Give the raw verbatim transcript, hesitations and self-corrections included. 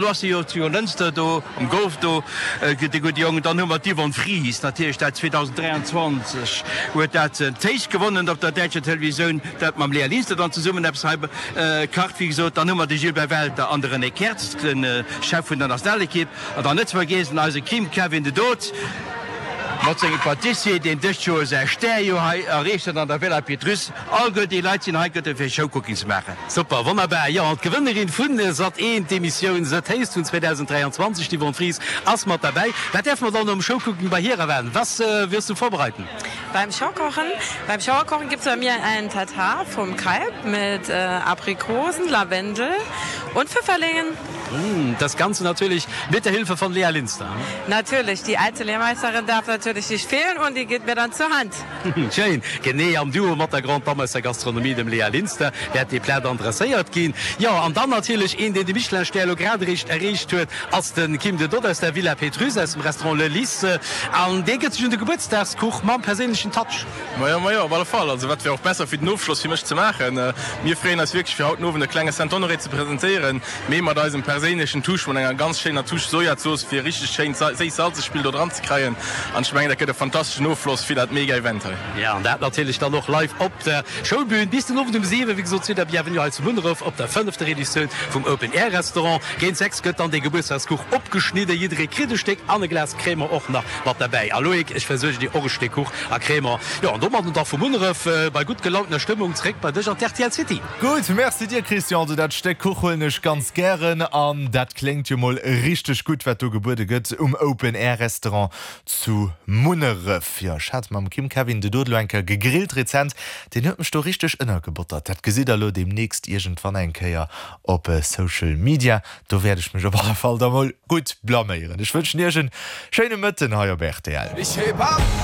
Lo ass se jo zu Jonglënster do um Golf do, de gudde Jong. Dann hu mer d'Yvonne Fries natierlech, dat zweedausenddräianzwanzeg huet dat Taste gewonnen op der däitscher Televisioun, dat mam Lea Linster dann zesummen eppes hei kacht, wéi gesot. Dann hu mer de Gilbert Welter an de René Kertz, de Chef vun der Nationalekipp. An dann net ze vergiessen eise Kim Kevin de Dood mat sengem Patissier, deen dëst Joer säi Stär jo hei erreecht huet an der Villa Pétrusse. Alleguer déi Leit sinn hei gëtte fir Showcooking ze maachen. Super, wonnerbar! Jo, an d'Gewënnerin vun Sat eent, d'Emissioun The Taste vun zweedausenddräianzwanzeg, d'Yvonne Fries, ass mat derbäi. Wat däerfe mer dann nom Showcooking bei hir erwaarden? Was wirst du vorbereiten? Beim Showkochen? Beim Showkochen gibt's bei mir einen Tatar vom Kalb mit Aprikosen, Lavendel und Pfifferlingen. Das Ganze natürlich mit der Hilfe von Lea Linster. Natürlich, die alte Lehrmeisterin darf natürlich nicht fehlen und die geht mir dann zur Hand. Schéin, genee am Duo mat der Grande Dame aus der Gastronomie, dem Lea Linster, wäert dee Plat dann dresséiert ginn. Jo, an dann natierlech een, deen de Michelin-Stär elo grad eréischt erreecht huet, ass de Kim de Dot aus der Villa Pétrusse, aus dem Restaurant Le Lys. An dee gëtt sech un de Gebuertsdagskuch mam perséinlechen Touch. Majo, majo, op alle Fall. Also wat wär och besser fir den Ofschloss fir mech ze maachen. Mir freeën eis wierklech fir haut den Owend e klenge Saint-Honoré ze presentéieren, mee mat eisem perséinlechen Touche, mat enger ganz schéiner Touche Sojazooss fir e richteg schéint séiss-salzeg Spill do dran ze kréien. An ech mengen dat gëtt e fantasteschen Ofloss fir dat mega Event hei. Jo, an dat natierlech dann och live op der Schoulbühn bis den Owend um siwen, wéi gesot, zu der Bienvenue hei zu Munneref op der fënnefter Editioun vum Open Air Restaurant. Géint sechs gëtt dann dee Gebuertsdagskuch opgeschnidden, jidderee kritt e Stéck an e Glas Crémant och nach mat derbäi. A Loïc, ech versuergen dir och e Stéck Kuch a Crémant. Jo, an domadden da vu Munneref bei gutt gelauntener Stëmmung zréck bei dech an d'R T L City. Gutt, merci dir Christian. Also dat Stéck Kuch huelen ech ganz gären an dat kléngt jo mol richteg gutt wat do gebuede gëtt um Open Air Restaurant zu Munneref. Jo, ech hat mam Kim Kevin de Dodelo eng Kéier gegrillt rezent, deen huet mech do richteg ënnergebottert. Dat gesitt der elo deemnächst iergendwann eng Kéier op Social Media. Do wäert ech mech op alle Fall da mol gutt blaméieren. Ech wënschen iech en schéine Mëtten hei op R T L.